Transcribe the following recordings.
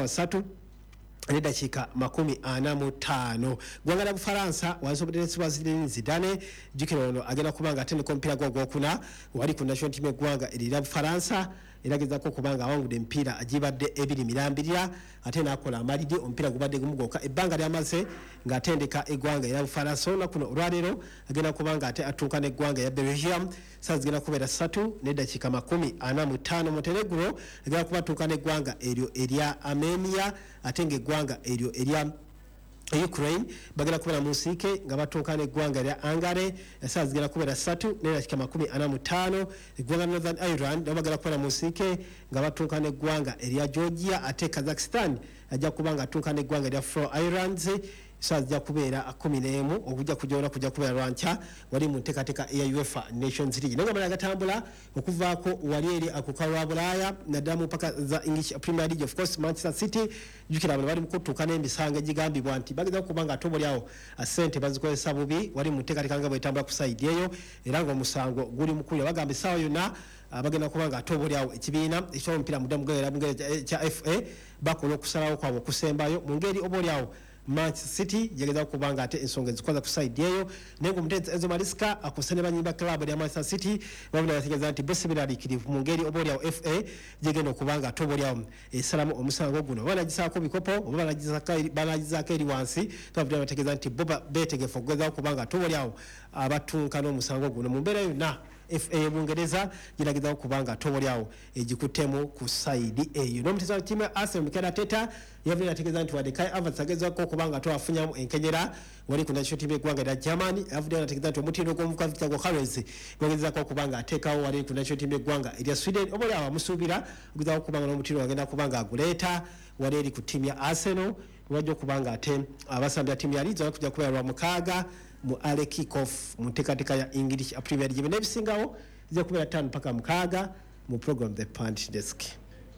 Saawa 3:45. Ggwanga lya Bufalansa wansi obutendesi bwa Zinedine Zidane, jjukira ono agenda kuba nga atendeka omupiira gwe ogwokuna wali ku national team eggwanga erira Bufalansa, era agezaako okuba nga awangudde emipiira agibadde ebiri mirambirira, ate n'akola amaliri omupiira gubadde gumu gwokka ebbanga lyamaze ng'atendeka eggwanga era Bufalansa. Olunaku kuno olwaleero agenda kuba nga ate atuuka n'eggwanga ya Belgium, saa zigenda kubeera 3:45. Montenegro agenda kuba atuuka n'eggwanga eryo erya Armenia, ate ng'eggwanga eryo erya Ukraine bagenda kubeera mu nsiike nga batuuka n'eggwanga erya Hungary, esaawa zigenda kubeera 3:45. Eggwanga Northern Ireland nabo bagenda kubeera mu nsiike nga batuuka n'eggwanga erya Georgia, ate Kazakhstan ajja kuba nga atuuka n'eggwanga erya Faroe Islands, saa zijja kubeera 11. Okujja kujja kujja kubeera lwankya wali mu nteekateeka eya UEFA Nations League. Naye nga malala gatambula okuvaako wali eri akuka lwa Bulaaya, naddala mu mpaka za English Premier League, of course Manchester City, jjukira bano bali mu kutuuka n'emisango egigambibwa nti bageza okuba nga ate obaoliawo ssente bazikozesa bubi wali mu nteekateeka nga bwetambula ku side eyo, era ng'omusango guli mukulira. Bagamba essaawa yonna bagenda kuba nga ate obaoliawo ekibiina ekyomupiira mudda kya FA bakola okusalawo kwabwe okusembayo mu ngeri obaoliawo Manchester City yageza kuba nga ate ensonga ezikoza ku side eyo. Naye ng'omutendesi Enzo Maresca akose ne banyimba club ya Manchester City babona bategeeza nti bo si beeraliikirivu mu ngeri obaoliawo FA gyegenda okuba nga ate obaoliawo esalamu omusango guno, oba banagisaako bikopo oba banagizaako eri wansi. Twavudde bategeeza nti bo beetegefu okugezaako kuba nga ate obaoliawo abatunka n'omusango guno mu mbeera yonna FA y'Obungereza giragezaako kuba nga ate obaoliawo egikuttemu ku side eyo. N'omutendesi wa ttiimu ya Arsenal, Mikel Arteta, yavudde ategeeza nti wadde Kai Havertz agezaako okuba nga twafunyamu enkenyera wali ku national team y'eggwanga erya Germany, avudde ategeeza nti omutindo gw'omuvubuka Victor Gyokeres gwagezaako okuba nga ateekawo wali ku national team y'eggwanga erya Sweden, oba oliawo amusuubira okugezaako okuba nga n'omutindo agenda kuba nga aguleeta wali eri ku ttiimu ya Arsenal. Wajja okuba nga ate abasambya ttiimu ya Leeds kujja kubeera lwa mukaaga mu early kick off mu nteekateeka ya English Premier League. N'ebisingawo zijja kubeera 5 paka 6 mu program The Pundit Desk.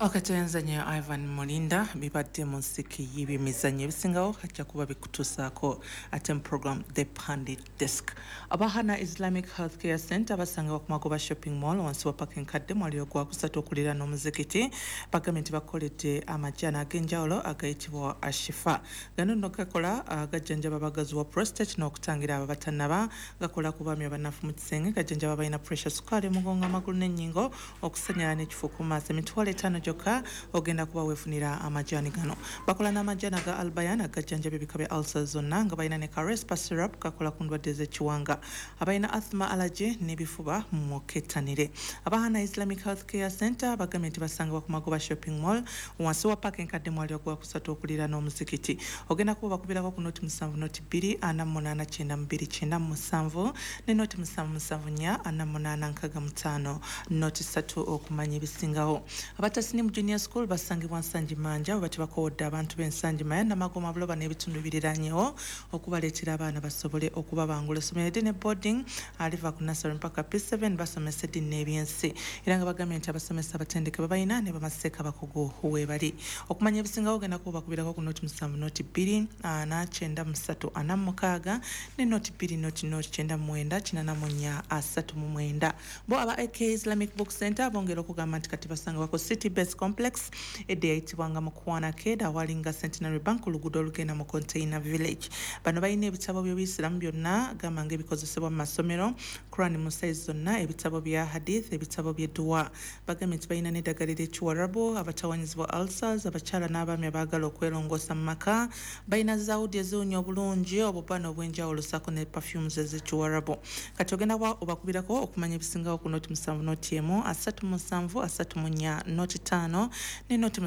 Ok, toyanza nnyo Ivan Mulinda. Bibadde mu nsiki y'ebyemizannyo, ebisingawo ajja kuba bikutuusaako ate mu program The Pundit Desk. Abahana Islamic Healthcare Center basangibwa ku Magoba Shopping Mall wansi wa paka enkadde mwaliro gwa kusatu okuliraana omuzikiti, bagambye nti bakoledde amajaani ag'enjawulo agayitibwa Ashifa. Gano nno gakola gajjanjaba abagazi wa prostate n'okutangira abo abatannaba, gakola ku baami abanafu mu kisenge, gajjanjaba abalina pressure, sukaali, omugongo, amagulu n'ennyingo, okusanyala n'ekifu ku maaso. 50,000 gyokka ogenda kuba weefunira amajaani gano. Bakola n'amajaani aga Albayan agajjanjaba ebika bya ulcers zonna, nga balina ne Carespa syrup kakola ku ndwadde z'ekiwanga, abalina asthma, allergy n'ebifuba mukettanire. Abahana Islamic Healthcare Center bagambye nti basangibwa ku Magoba Shopping Mall wansi wa paaka enkadde mwali ogwa kusatu okuliraana omuzikiti. Ogenda kuba bakubirako ku 070 02 48 92 97 ne 077 4 48 65 03 okumanya ebisingawo. Abatasinimu Junior School basangibwa Nsangi Manja, bwe bati bakoowodde abantu b'Ensangi Maya, Namagoma, Buloba n'ebitundu biriranyewo okubaleetera abaana basobole okubabangula. Essomero eddi ne boarding aliva ku nursery mpaka P7, basomesa eddiini n'ebyensi, era nga bagambye nti abasomesa abatendeke babalina ne bamaseeka abakugu weebali. Okumanya ebisingawo ogenda kuba bakubirako ku 070 02 4 93 46 ne 02 00 99 84 39. Bo aba AK Islamic Book Center bongera okugamba nti kati basangibwa ku City Base Complex edda eyitibwanga Mukwana Ked, awalinga Centenary Bank ku luguudo olugenda mu Container Village. Bano balina ebitabo by'obuyisiramu byonna, gamba ng'ebikozesebwa mu masomero, Quran mu size zonna, ebitabo bya hadith, ebitabo by'edduwa. Bagambye nti balina n'eddagala ery'ekiwarabu, abatawanyizibwa ulcers, abakyala n'abaami abaagala okwerongoosa mu maka. Balina zawudi eziwunya obulungi, obubano obw'enjawulo ssaako ne perfumes ez'ekiwarabu. Kati ogenda kuba obakubirako okumanya ebisingawo ku 070 01 37 34 05 ne 070 01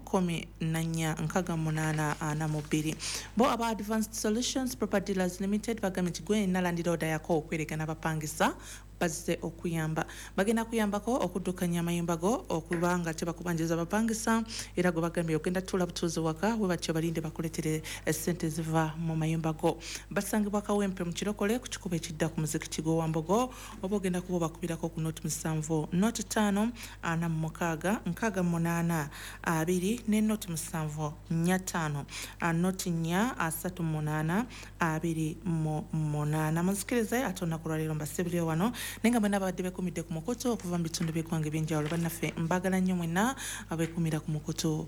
14 68 42. Bo aba Advanced Solutions Property Dealers Limited bagambye nti gwe nalandira oda yako okweregana abapangisa bazze okuyamba, bagenda kuyambako okuddukanya amayumba go okuba nga tebakubanjiza bapangisa, era gwe bagambye ogenda tuula butuuzi waka we batyo balinde bakuletere essente ziva mu mayumba go. Basangibwa Kawempe mu Kirokole ku kikubo ekidda ku muzikiti gw'Owambogo, oba ogenda kuba obakubirako ku 070 05 46 68 2 ne 070 45 04 38 28. Munzikirize ate olunaku lwaleero mbasibire wano, naye nga mwenna abadde bekumidde ku mukutu okuva mu bitundu by'eggwanga ebyenjawulo, bannaffe mbagala nnyo mwenna abekumira ku mukutu.